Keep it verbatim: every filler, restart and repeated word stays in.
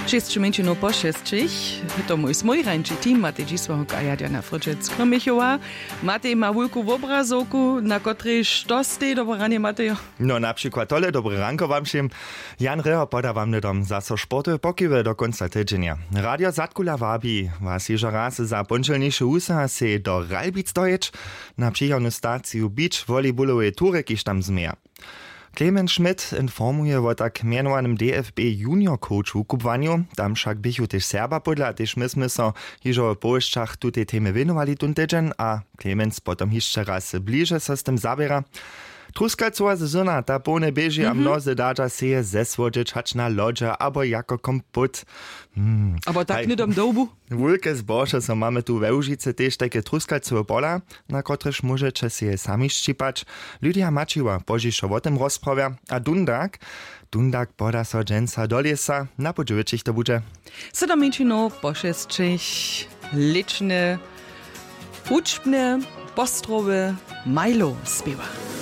Šěsć mjeńšinow po šesćich. To mój smójrańči team, matej dźisławka jadjana fryčec krmichowa. Matej ma wulku wobrazowku, na kotrejž to stej. Dobre ranje matejo. No na přikład tole dobre ranko wam wšěm. Jan reho poda wam hnydom zaso sportowe pokiwy do kónca tydźenja. Radio zadkula wabi was hižo raz za póndźelniše wusaha sej do ralbic dojěć, na přichodnu staciju beach volleyballoweje tury kiž tam změja. Clemens Schmidt informuje wo tak mjenowanym dfb junior coach wukubłanju. Tam wšak běchu tež serba pódla tež my smy so hižo w powěsćach tutej temy wěnowali tón tydźeń a clemens potom hišće raz bliže so z tym zaběra. Truskawcowa sezona ta połne běži a mnozy dadźa seje zesłodźeć hač na lodźe abo jako kompót. Hmm. Abo tak hnydom dołbu. Wulke zbožo so mamy tu we łužicy tež tajke truskawcowe pola, na kotrež móžeće seje sami šćipać. Lydia maćiła pozdźišo wo tym rozprawja a dundak dundak poda so dźensa do lěsa na pódźewićich to budźe. Sydom mjeńšinow po šesćich. Lěčne, wučbne, postrowy, majlow spěwa.